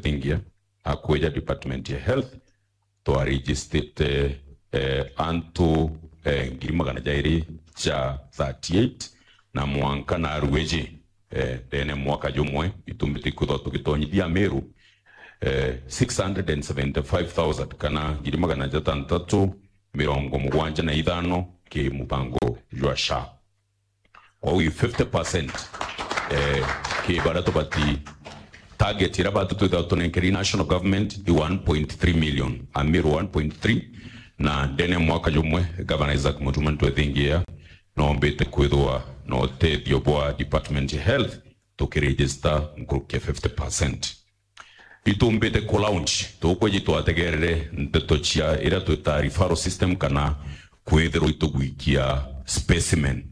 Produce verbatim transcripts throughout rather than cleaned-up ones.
thingia, akwija department ya health, twaregistrite, eh, antu, eh, ngiri magana jairi ja thirty-eight, na mwanka narua iji, eh, ndene mwaka jumwe, itumbite kwithwa tugitonyithia Meru, eh, six hundred and seventy-five thousand, kana ngiri magana jatantatu mirongo mugwanja na ithano ki mubango jwa SHA. Kwou i fifty percent, eh, ki baria tubati target iria batu twithagwa tunenkeri national government i one point three million, Ameru one point three, na ndene mwaka jumwe, Governor Isaac Mutuma ntwethingia, noombite kwithwa na utethio bwa Department ya Health, tukiregister nkuruki ya fifty percent. Itumbite ku launch, tukwiji twategerere ndeto cia iria twita referral system kana kwithirwa itugwikia specimen.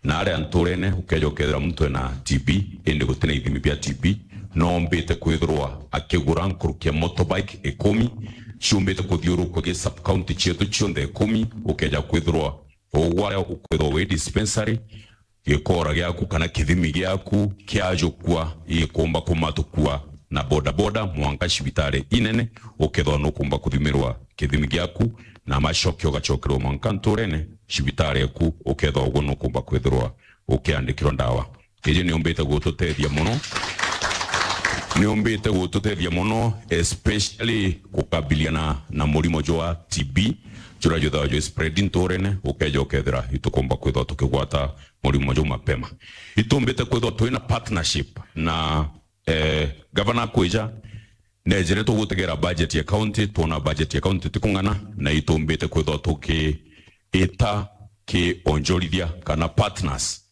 Na aria nturene, ukeja ukethira muntu ena T B, indi gutina ithimi bia T B, noombite kwithirwa akigura nkuruki ya motorbike ikumi, ciumbite kuthiurukua gi sub county cietu cionthe ikumi, ukeja kwithirwa ugwaria ukwithirwa wi dispensary, gikora giaku kana kithimi giaku kiajukua, ikumba kumatukua na bodaboda mwanka cibitari inene, ukethwa nukumba kuthimirwa kithimi giaku, na macoke ugacokerwa mwanka nturene, cibitari eku, ukethwa uguo nukumba kwithirwa ukiandikirwa ndawa. Iji niumbite gututethia mono, niumbite gututethia mono, especially gukabiliana na murimo jwa T B, juria jwithagwa jwi spread nturene, ukeja ukethira itukumba kwithwa tukigwata murimo juu mapema. Itumbite kwithwa twina partnership na, eh, gavana akwija, nejire tugutegera budget ya county, twona budget ya county tikung'ana, na itumbite kwithwa tukiita kionjorithia kana partners,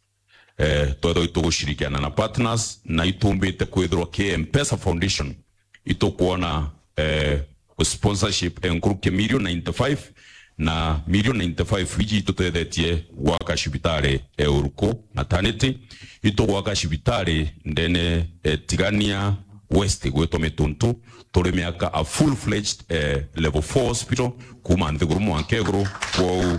eh, twethwa itugushirikiana na partners, na itumbite kwithirwa ki M-Pesa Foundation, itukwona, eh, sponsorship ya nkuruki million ninety-five, na million ninety-five iji itutethetie gwaka cibitari ya Uruku maternity, itugwaka cibitari ndene, eh, Tigania West gwitwa Mituntu, turi miaka a full-fledged, eh, level four hospital, kuma nthiguru mwanka iguru. Kwou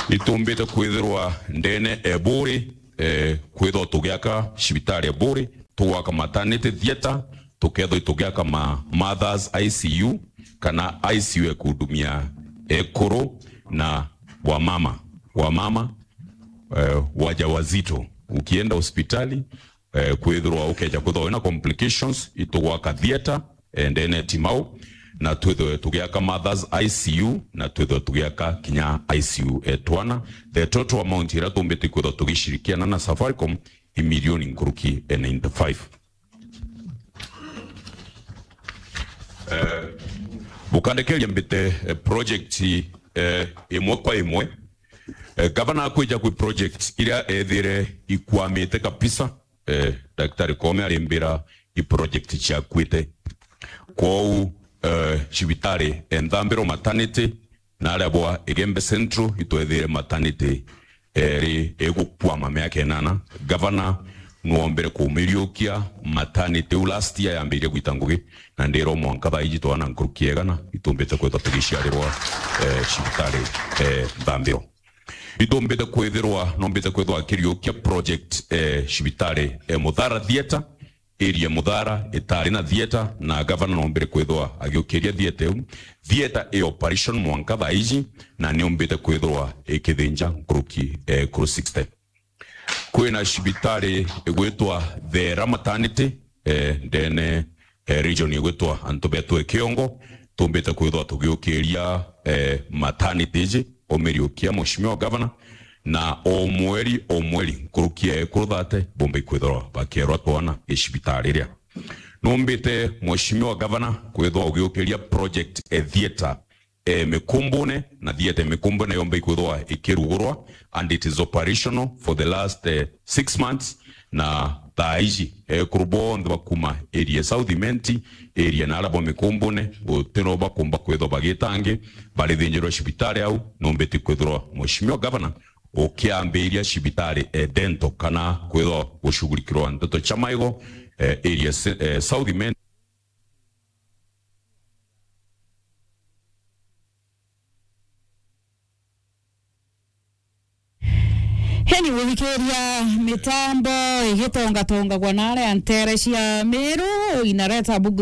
itumbite kwithirwa ndene e Buri, eh, kwithwa tugiaka cibitari e Buri, tugwaka maternity theatre, tukethwa tugiaka ma mothers I C U, kana I C U ya kuhudumia ekuru na wamama, wamama, eh, wajawazito. Ukienda hospitali, eh, kwithirwa ukeja kwithwa wina complications, itugwaka theatre, eh, ndene Timau, na twithwe tugiaka mothers I C U, na twithwe tugiaka kinya I C U e twana. The total amount iria tumbite kwithwa tugishirikiana na Safaricom i milioni nkuruki e ninety-five. Eh, bukandekeria mbite, eh, project, eh, imwe kwa imwe. Eh, gavana akwija kwi project iria ethire ikwamite kabisa, eh, Daktari Koome arimbira i project ciakuite. Kwou, eh, cibitari e Nthambiro maternity, na aria bwa Igembe Central itwethire maternity eri igukwama miaka inana. Gavana nwombire kumiriukia maternity iu last year yambirie gwita ngugi, na ndirwa mwanka thaa iji twana nkuruki ya igana itumbite kwithwa tugiciarirwa, eh, cibitari, eh, Nthambiro. Itumbite kwithirwa, nombite kwithwa akiriukia project, eh, cibitari, eh, Muthara Theatre, area Muthara itari na theatre, na gavana nombire kwithwa agiukiria theatre iu. Theatre i operation mwanka thaa iji, na niumbite kwithwa ikithinja nkuruki, eh, kuru sixty. Kwina cibitari igwitwa Thera Maternity, eh, ndene, eh, region igwitwa antu betu e Kiongo. Tumbite kwithwa tugiukiria, eh, maternity iji, umiriukia Mheshimiwa Governor, na o mweri, o mweri, nkuruki ya ekuru thate, bumba ikwithirwa bakierwa twana i cibitari iria. Numbite Mheshimiwa Governor kwithwa ugiukiria project e theatre, eh, Mikumbune, na theatre Mikumbune yomba ikwithwa ikirugurwa, and it is operational for the last, eh, six months, na thaa iji, eh, ekuru bonthe bakuma area South Imenti, area na aria bwa Mikumbune, gutino bakumba kwithwa bagitangi, barithinjirwa cibitari au, numbiti kwithirwa Mheshimiwa Governor ukiambiria cibitari e dental kana kwithwa gushughulikirwa ndeto cia maigo, eh, area se-, eh, South Imenti. Heni guthikiria mitambo igitongatongagwa na aria ntere cia Meru, inareta bugutha